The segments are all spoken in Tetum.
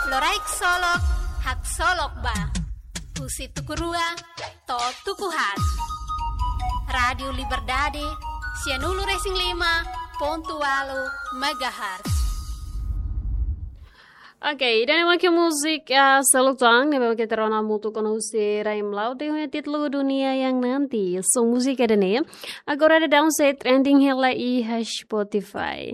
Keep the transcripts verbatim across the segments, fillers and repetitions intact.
Loraik solok, haksolok ba. Husi tuku rua to'o tuku haat. Rádiu Liberdade, sianulu-resin-lima pontu ualu megahertz. Oke, ida-ne'e mak múzika, ah, seluk tan, ne'ebé mak ita rona hamutuk ona husi Rahim Laude, ho nia títulu Dunia Yang Nanti. Son múzika ida-ne'e agora daudaun sei trending hela iha Spotify.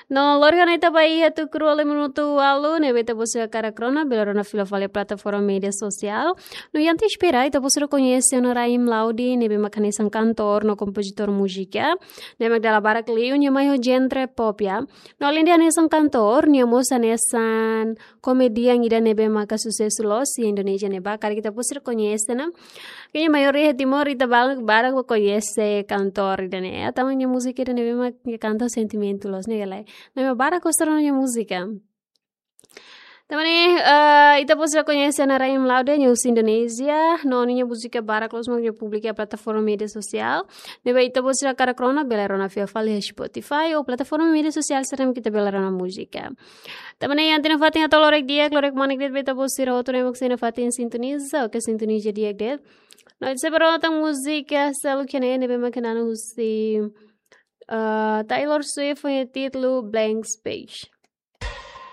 No, lori ona ita ba iha tuku rua liu minutu ualu, ne'ebé ita-boot sira hakarak rona, bele rona fila fali plataforma média sosiál. No, ita espera, ita-boot sira koñese ona Rahim Laude, ne'ebé mak hanesan kantór no kompozitór múzika. Ne'ebé mak dala barak liu nia mai ho genre pop, ya. No, aleinde hanesan kantór, nia mós hanesan komedian ida ne'ebé maka susesu loos iha Indonézia ne'ebá, karik ita-boot sira koñese ona. Kayaknya maioria iha Timor ita barak, barak koñese kantór ida-ne'e. Tanba nia múzika ida ne'ebé mak nia kanta sentimentu loos ne'e, ka lae. Ne'ebé barak gosta ona nia múzika. Tanba ne'e, eh, ita-boot sira koñese ona Rahim Laude, nia husi Indonézia, no nia múzika barak loos mak nia publika iha plataforma média sosiál. Ne'ebé ita-boot sira hakarak rona, bele rona fila fali iha Spotify ou plataforma média sosiál sira ne'ebé ita bele rona múzika. Tanba ne'e, iha ita-nia fatin atu loraik di'ak, loraik manek de'it ba ita-boot sira hotu ne'ebé mak sei iha fatin sintoniza, oke, sintoniza di'ak de'it. No, ita sei bá rona tan múzika seluk iha ne'e, ne'ebé mak hanesan husi, ah, Taylor Swift, ho nia títulu Blank Space.